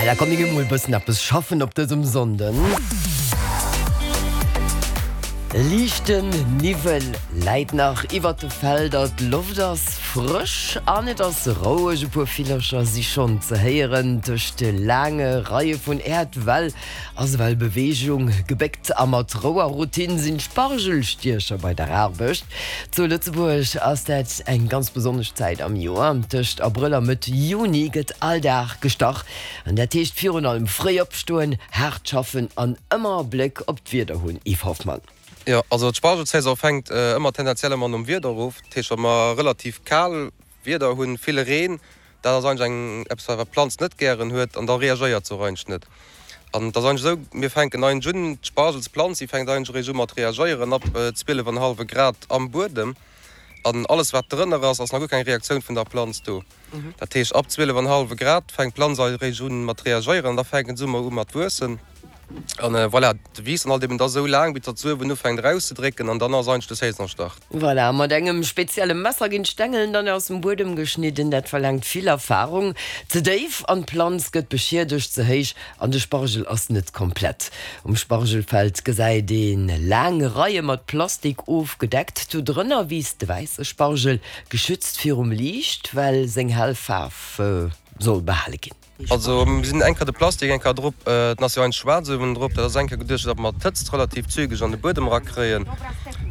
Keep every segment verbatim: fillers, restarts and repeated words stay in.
Da komm mir mol bëssen eppes schaffen op dësem Sonnden. Liichten Niwwel läit nach iwwer de Felder, d'Loft ass frësch an et ass roueg. E puer Villercher si schonn ze héieren. Tëscht de laange Reie vun Äerdwäll ass ewell Beweegung. Gebéckt a mat Rou a Routine sinn d'Spargelstiecher bei der Aarbecht. Zu Lëtzebuerg ass dat eng ganz besonnesch Zäit am Joer. Tëscht Abrëll a Mëtt Juni gëtt all Dag gestach. An dat heescht virun allem fréi opstoen, haart schaffen an ëmmer e Bléck op d'Wieder hunn. Yves Hoffmann. Jo, also d'Spargelsaison fänkt ëmmer tendenziell ëmmer nom Wieder of. Dat heescht, wa mer relativ kal Wieder hunn, vill Reen, dat ass eigentlech eng eppes, wat d'Planz net gären huet an da reagéiert se och eigentlech net. An et ass eigentlech esou, mir fänken eigentlech un, d'Spargelsplanz, déi fänkt eigentlech eréischt u mat reagéieren ab zwielef an e hallwe Grad am Buedem. An alles wat drënner ass, ass nach guer keng Reaktioun vun der Planz do. Dat heescht, ab zwielef an e hallwe Grad fänkt d'Planz eréischt un mat reagéieren an da fänken se u mat wuessen. An voilà, de wiisst dann halt eben da sou laang, bis datt s'uewen ufänkt erauszedrécken an dann ass eigentlech de Saisonstart. Voilà, mat engem spezielle Messer ginn d'Stängelen dann aus dem Buedem geschnidden. Dat verlaangt vill Erfarung. Ze déif an d'Planz gëtt beschiedegt, ze héich an de Spargel ass net komplett. Um Spargelfeld gesäit ee laang Reie mat Plastik ofgedeckt. Do drënner wiisst de wäisse Spargel, geschützt virum Liicht, well seng hell Faarf soll behale ginn. Also mir sinn eng Kéier de Plastik eng Kéier drop, den ass jo eigentlech schwaarz uewen drop, dat ass eng Kéier geduecht, datt mer d'Hëtzt relativ zügeg an de Buedem erakréien,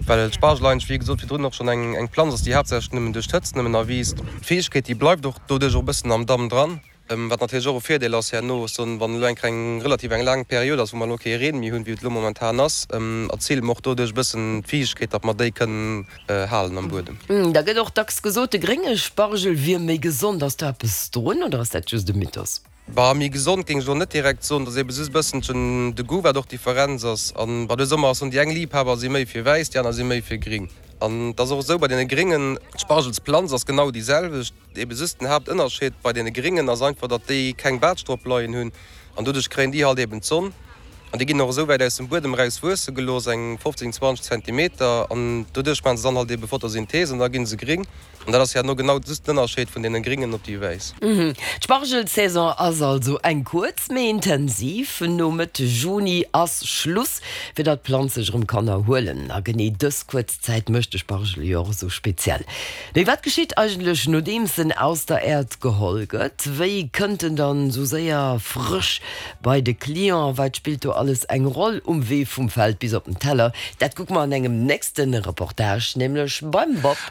well d'Spargel eigentlech, wéi gesot virdrun och schonn, eng eng Planz ass, déi haaptsächlech nëmmen duerch d'Hëtzt nëmmen erwiisst. D'Fiichtegkeet, déi bleift och doduerch och e bëssen am Damm dran, wat natierlech och e Virdeel ass herno, soen, wann elo eng Kéier eng relativ eng laang Period ass, wou mer elo kee Reen méi hunn, wéi et elo momentan ass, erziele mer och doduerch e bëssen d'Fiichtegkeet, datt mer déi kënnen halen am Buedem. Da gëtt och dacks gesot, de grénge Spargel wier méi gesond. Ass do eppes drun oder ass dat just e Mythos? Bah, méi gesond géing ech elo net direkt soen. Et ass ebe just e bësselchen de Goût, wat och d'Differenz ass. An bah, de Summer ass soen, déi eng Liibhaber si méi fir wäiss, déi aner si méi fir gring. An et ass och esou bei deene gréngen, d'Spargelsplanz ass genau déi selwecht. Ebe just den Haaptënnerscheed bei deene gréngen ass einfach, datt déi keng Baatsch drop leien hunn an doduerch kréien déi halt eben d'Sonn. An déi ginn och esou wäit aus dem Buedem eraus wuesse gelooss, eng fofzéng, zwanzeg Zentimeter, an doduerch maache se dann halt ebe Photosynthese an da gi se gring. An dat ass herno genau just den Ënnerscheed vun deene gringen op déi wäiss. D'Spargelsaison ass also eng kuerz, mee intensiv. No Mëtt Juni ass Schluss, fir datt d'Planz sech erëm kann erhuelen. A genee dës kuerz Zäit mécht de Spargel jo och esou speziell. Mee wat geschitt eigentlech, nodeems en aus der Äerd geholl gëtt? Wéi kënnt en dann esou séier frësch bei de Client? Wat spillt do alles eng Roll um Wee vum Feld bis op den Teller? Dat kucke mer an engem nächste Reportage, nämlech beim Bob.